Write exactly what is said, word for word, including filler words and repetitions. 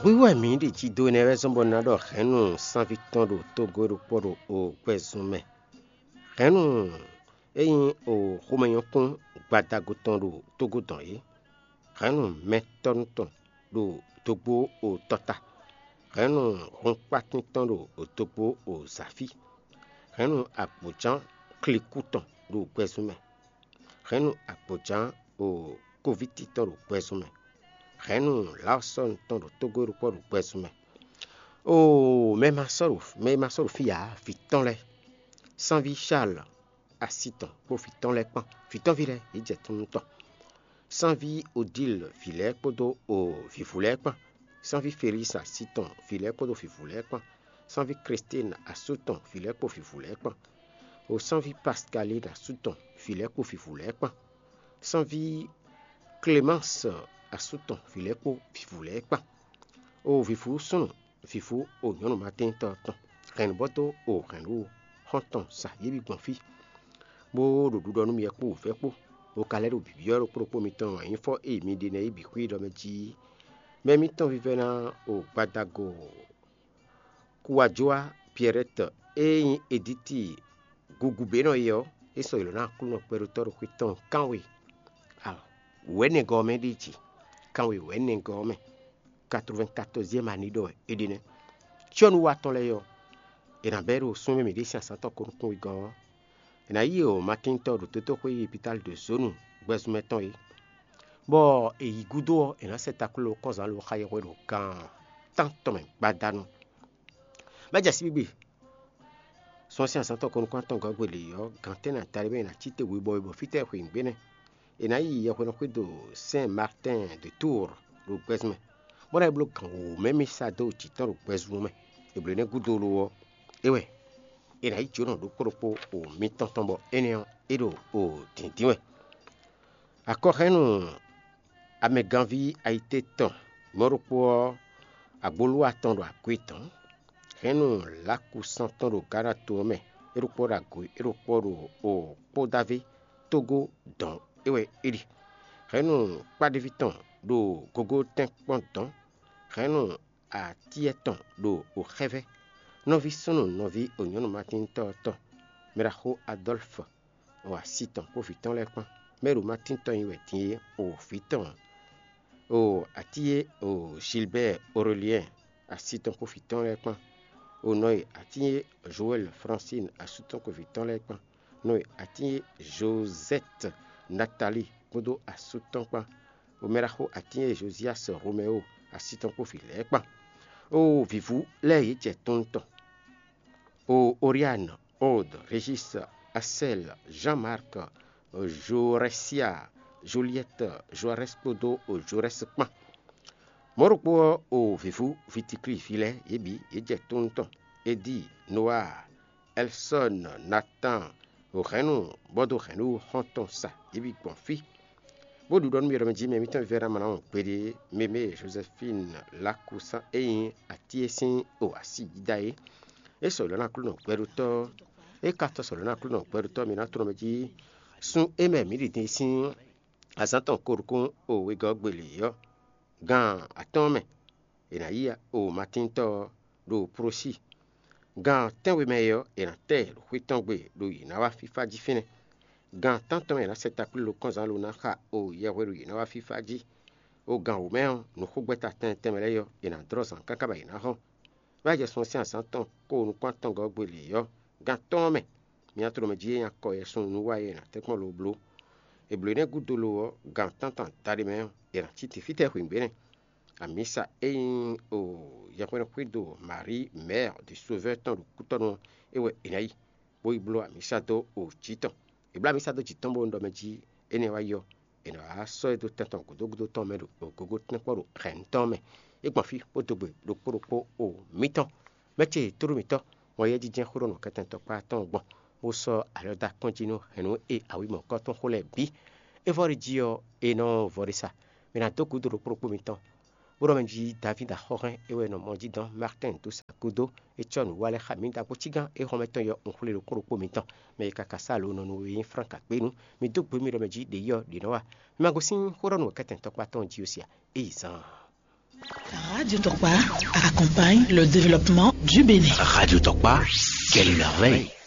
Hwíhwɛ́ mǐ ɖi jí dó énɛ́ wɛ zɔ́n bɔ un ná ɖɔ hɛ̌nnu sánví tɔn ɖo tógó ɖokpó ɖo o gbɛzun mɛ. Hɛ̌nnu e nyí o xomɛnyɔ́kún gbadago tɔn ɖo tógó dɔn é. Hɛ̌nnu mɛtɔ́nu tɔn ɖo dógbó o tɔta. Hɛ̌nnu hunkpátín tɔn ɖo dógbó o zǎfí. Hɛ̌nnu agbǒján klikú tɔn ɖo gbɛzun mɛ. Hɛ̌nnu agbǒján o kóvíti tɔn ɖo gbɛzun mɛ. Hɛ̌nnu lǎɔsɔ́nu tɔn ɖo tógó ɖokpó ɖo gbɛzun mɛ. Oo, mɛ e ma sɔ́ ɖo mɛ e ma sɔ́ ɖo fí ǎ, vǐ tɔn lɛ́ɛ, sánví Charles asi tɔn kpó vǐ tɔn lɛ́ɛ kpán, vǐ tɔn ví lɛ́ɛ yě jɛ tunú tɔn. Sánví Odile ví lɛ́ɛ kpódó o vǐvú lɛ́ɛ kpán, sánví Felix asi tɔn ví lɛ́ɛ kpódó vǐvú lɛ́ɛ kpán, sánví Christine asú tɔn ví lɛ́ɛ kpó vǐvú lɛ́ɛ kpán, o sánví Pascaline asú tɔn ví lɛ́ɛ kpó vǐvú lɛ́ɛ kpán, sánví Clémence asú tɔn ví lɛ́ɛ kpó vǐvú lɛ́ɛ kpán. O vǐvú súnnu, vǐvú o nyɔ̌nu Matíntɔ́ tɔn, hɛ̌nnubɔ́ dó o hɛ̌nnu xɔ́ntɔn sa yě bǐ gbɔn fí, bó ɖo ɖiɖɔ nú mi wɛ kpó wǔvɛ́ kpó, bó ka lɛ́ ɖo bǐbyɔ́ ɖokpó ɖokpó mitɔn wɛ nyí fɔ́ e mi ɖe nɛ́ yí bǐ xwí ɖɔ mɛ jí. Mɛ mitɔn vívɛ́ná o gbadago Kuwajɔ́a Pierrette e nyí Edíti Guguběnɔ é ɔ́, é sɔ́ ylɔ̌ ná Aklúnɔ kpɛɖótɔ́ ɖo xwé tɔn kánwe wɛ̌nɛgɔ́ ɔ́ mɛ ɖíe jí. Kánwe wɛ̌nɛgɔ́ ɔ́ mɛ, quatre-vingt-quatorzième année ɖɔ wɛ é ɖe nɛ́. Cyɔ́núwatɔ́ lɛ́ɛ ɔ́, è nǎ bɛ́ ɖo súnmɛ mǐ ɖésú azǎn tɔn ko nukún wegɔ́ ɔ́, è nǎ yí o Matíntɔ́ ɖo dotóxwé yi Pitáli ɖo zǒnu gbɛzunmɛ tɔn é, bɔ è yi gúdo ɔ́, è nǎ sɛ takló kɔ́nzán lo xa yɛhwe ɖo gan tántɔn mɛ gbadanu. Bɛ́ jɛ síbígbe sɔ́n sín azǎn tɔn ko nukún atɔn gɔ́ gbe lě ɔ́, gan tɛ́nnɛ ata ɖé mɛ è nǎ cí te webɔ webɔ fítɛ́ xweyǐgbe nɛ́. È nǎ yi yɛhweɖɔxwído Sɛn Martɛn de Túur ɖo gbɛzun mɛ, bó ná yi bló gan wǒ mɛ mì sa dó jǐ tɔn ɖo gbɛzun ɔ́ mɛ. È blǒ énɛ́ gúdo lo ɔ́, é wɛ è nǎ yi jǒnɔ ɖokpó ɖokpó o mitɔn tɔn bɔ énɛ́ ɔ́, é ɖo o dǐndín wɛ. Akɔhɛ́nnu amɛganví ayité tɔn mɔ̌ ɖokpó ɔ́, agbolúwa tɔn ɖo akwé tɔn. Hɛ̌nnu Lakusán tɔn ɖo Gana to ɔ́ mɛ, é ɖokpó ɖo agǒ, é ɖokpó ɖo o kpódávé tógó dɔ̌n é wɛ é ɖi. Hɛ̌nnu kpáɖéví tɔn ɖo gogótɛ́nkpɔ́n dɔ̌n. Hɛ̌nnu atíyɛ tɔn ɖo o xɛ́vɛ́. Nɔví súnnu nɔví o nyɔ̌nu Matíntɔ́ ɔ́ tɔn, Mɛɖaxó Adɔ́lfɔ, o asi tɔn kpó vǐ tɔn lɛ́ɛ kpán. Mɛ e ɖo Matín tɔn nyi wɛ din é, o vǐ tɔn, o atín e o Gilbert Aurélien asi tɔn kpó vǐ tɔn lɛ́ɛ kpán. O nɔ e atín e Joël Francine asú tɔn kpó vǐ tɔn lɛ́ɛ kpán. Nɔ e atín e Josette Nathalie kpódó asú tɔn kpán. O mɛ ɖaxó atín e Josias Roméo asi tɔn kpó vǐ lɛ́ɛ kpán. O vǐvú lɛ́ɛ yě jɛ tɔn tɔn. O Oriane, Aude, Régis, Axel, Jean-Marc, Joresia, Juliette, Joarès kpódó o Jorès kpán. Mɔ̌ ɖokpó ɔ́, o vǐvú Vitikli ví lɛ́ɛ yě bǐ yě jɛ tónú tɔn: Edi, Noa, Ɛlsɔ́n, Natan, o hɛ̌nnu bɔ dó hɛ̌nnu xɔ́ntɔn sa yě bǐ gbɔn fí, bó ɖiɖɔ nú mì ɖɔ mɛ jí mɛ mǐtɔn vívɛ́ná ma ná wɔn gbeɖé. Mɛmɛ Jozɛfín Lakusán e nyí atín e sín o asi yídá é, é sɔ̌ lɔ̌ nú Aklúnɔ gbɛɖótɔ́, é ka tɔ́ sɔ̌ lɔ̌ nú Aklúnɔ gbɛɖótɔ́ mǐ ná tlɔ́n mɛ jí. Sun e mɛ mǐ ɖi din sín azǎn tɔn ko ɖokún o wegɔ́ gbe lě ɔ́, gan atɔ́ɔ́n mɛ è nǎ yí o Matíntɔ́ ɔ́ ɖo Plosí. Gan tɛ́nwe mɛ é ɔ́, è nǎ tɛ ɖo xwé tɔn gbe ɖo yě ná wá fífá jí fínɛ́. Gan tántɔn mɛ è nǎ sɛ takplílo kɔ́nzán lo ná xa o yɛhweɖu yě ná wá fífá jí. O gan wǒ mɛ ɔ́, nǔxogbɛ́ta tɛnmɛ tɛnmɛ lɛ́ɛ ɔ́, è nǎ dlɔ́ zǎn káká bɔ yě ná hɔn. Bó ná jɛ sun ɔ́ sín azǎn tɔn kó nukún atɔngɔ́ gbe lě ɔ́, gan atɔ́ɔ́n mɛ, mǐ ná tló mɛ jí é nyí akɔ yɛsun nú wa e è nǎ tɛ́nkpɔ́n lo bló. È blǒ énɛ́ gúdo lo ɔ́, gan tántɔn adaɖé mɛ ɔ́, è nǎ cí te fítɛ́ hwǐngbe nɛ́. Amǐsa e nyí o yɛhwɛ́nxwédo Marie Mère du Sauveur tɔn ɖo kútɔ́nú ɔ́, é wɛ è nǎ yi, bó yi bló amǐsa dó o jǐ tɔn. È bló amǐsa dó jǐ tɔn bó ɖɔ mɛ jí énɛ́ wá yi ɔ́, è nǎ wá sɔ́ ɛ dó tɛn tɔn gǔdo gúdo tɔn mɛ ɖo gǒgó tɛ́nkpɔ́ ɖo hɛ̌nnu tɔn mɛ. É gbɔn fí bó dó gbe ɖokpó ɖokpó o mǐtɔn. Mɛ ce tló mǐtɔn, wɔn yɛ́ jínjɛ́n xó ɖɔ nǔkɛntɛn tɔkpá tɔn gbɔn, bó sɔ́ alɔ dó akɔ́n jí nú hɛ̌nnu e awǐmɔ̌kɔ tɔn xo lɛ́ɛ bǐ. É vɔ ɖ'é jí ɔ́, è nɔ vɔ ɖ'é sa. Mǐ ná dó gǔdo ɖokpó ɖokpó mitɔn, bó ɖɔ mɛ jí Davídi axɔ́hɛn é wɛ nɔ mɔ jí dɔn Martɛn dó sa gúdo. É cɔ́ nǔ wa lɛ́ɛ xá mǐ ɖo akpó cígán é xɔmɛ tɔn yɔ un xwlé ɖokpó ɖokpó mitɔn. Mɛ e ka ka sá alo nɔ nú we nyí Flán ka kpé nu. Mi dó gbe mì ɖɔ mɛ jí ɖě yɔ ɖě nɔ wa. Mi ma gosín xó ɖɔ nú wɛ̌kɛ́tɛn tɔkpá tɔn jí ó sia. É yi zaan. Radio Tokpa accompagne le développement du Bénin. Radio Tokpa, quelle merveille.